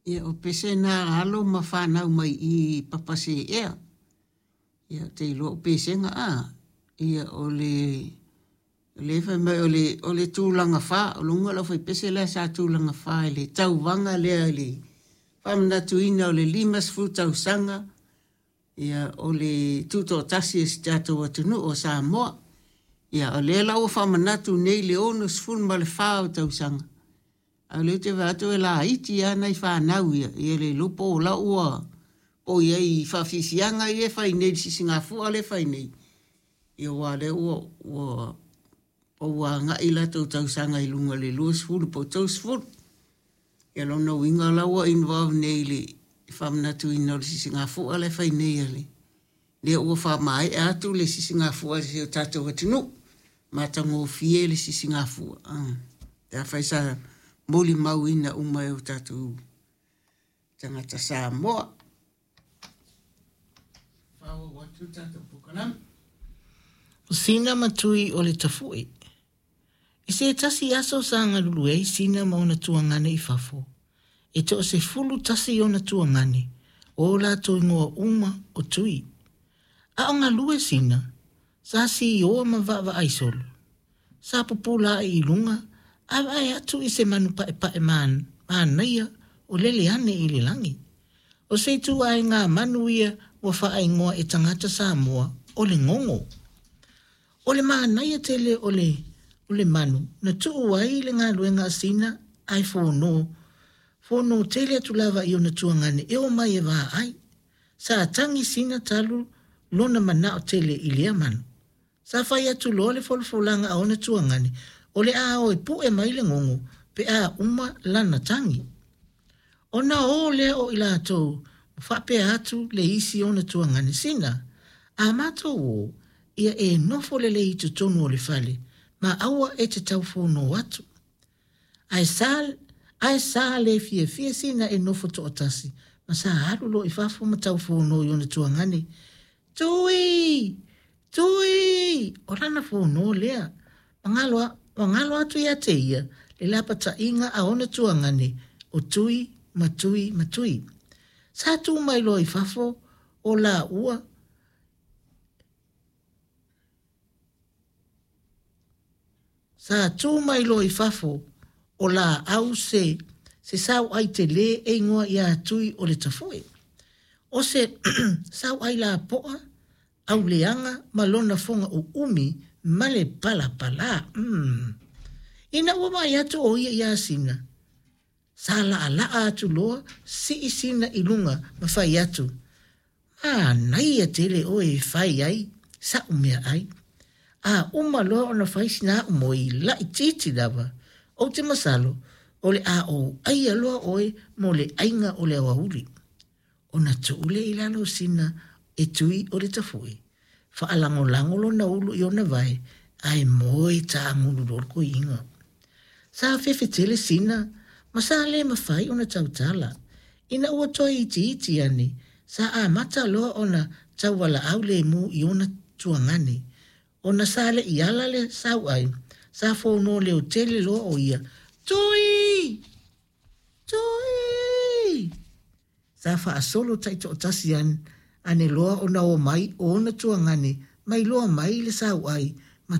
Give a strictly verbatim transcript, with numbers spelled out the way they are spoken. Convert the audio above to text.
Ia o pese na alo ma whanau mai i Papaseea. Ia te iloa o pesega a. Ia o le le fai mai o le o le tulaga fa o luga lau fai pese lea sa tulaga fa i le tauvaga lea i le faamanatuina o le lima sefulu tausaga ia o le tutoatasi e si tatou atunuu o Samoa. Ia o lea la ua faamanatu nei le ono sefulu ma le fa o tausaga. A o lea ou te vaai atu e laiti lava nai fanau ia, ia le iloa po o la ua o i ai i faafiafiaga ia e fai nei i le sisigafua lea e fai nei. Ia aua o lea ua ua ua agai latou tausaga i luga i le luasefulu po o tolusefulu. Ia lona uiga la ua involve nei i le faamanatuina o le sisigafua lea e fai nei a le lea ua faamaea atu le sisigafua a si o tatou atunuu. Matagofie le sisigafua. Ah. Pe afai sa molimauina uma e o tatou tagata Samoa. Faaauau atu le tatou polokalame. O Sina ma Tui o le Tafu'i. I se tasi aso sa galulue ai Sina ma ona tuagane i fafo, e toasefulu tasi ona tuagane, o o latou igoa uma o Tui. A o galue Sina, sa sioa ma vaavaai solo. Sa pupula ae i luga ae vaai atu i se manu paepae manaia o lele ane i le lagi. O se ituaiga manu ia ua faaigoa e tagata Samoa o le gogo. O le manaia tele o le o le manu na tuu ai le galuega a Sina ae fono fono tele atu lava i ona tuagane e omai e vaai. Sa tagi Sina talu lona manao tele i lea manu. Sa fai atu loa le folafolaga a ona tuagane o le a o e pue mai le gogo pe a uma lana tagi. Ona o lea o i latou ma faapea atu le isi ona tuagane, Sina, a matou o, ia e nofo lelei i totonu o le fale, ma aua e te tau fono atu. Ae sa, ae sa le fiafia Sina e nofo toatasi, ma sa alu loa i fafo ma tau fono i ona tuagane. Tui! Tui! O lana fono lea. Ma galo, ma galo atu ia te ia le lapataiga a ona tuagane o Tui ma Tui ma Tui. Sa tu mai loa i fafo o laua Sa tu mai loa i fafo o laau se se sauai tele e igoa ia Tui o le Tafu'i. O se sauai lapoa, auleaga ma lona foga uumi ma le palapala. Mm. Ina ua vaai atu o ia iā Sina, sa laalaa atu loa sii Sina i luga ma fai atu, manaia tele oe e fai ai sa'u meaai. A uma loa ona fai sina a'u moi laitiiti lava, ou te masalo o le a ou aia loa oe mo le aiga o le aoauli. Ona tuu lea i lalo o Sina e Tui o le Tafu'i, faalagolago lona ulu i ona vae ae moe taagulu loa le toeaina. Sa fefe tele Sina ma sa le mafai ona tautala. Ina ua toe itiiti ane, sa amata loa ona taualaau lemu i ona tuagane. Ona sa le i ala le sauai, sa fono leo tele loa o ia, Tui! Tui! Sa faasolo taitoatasi ane, ane loa ona o mai o ona tuagane, mai loa mai le sauai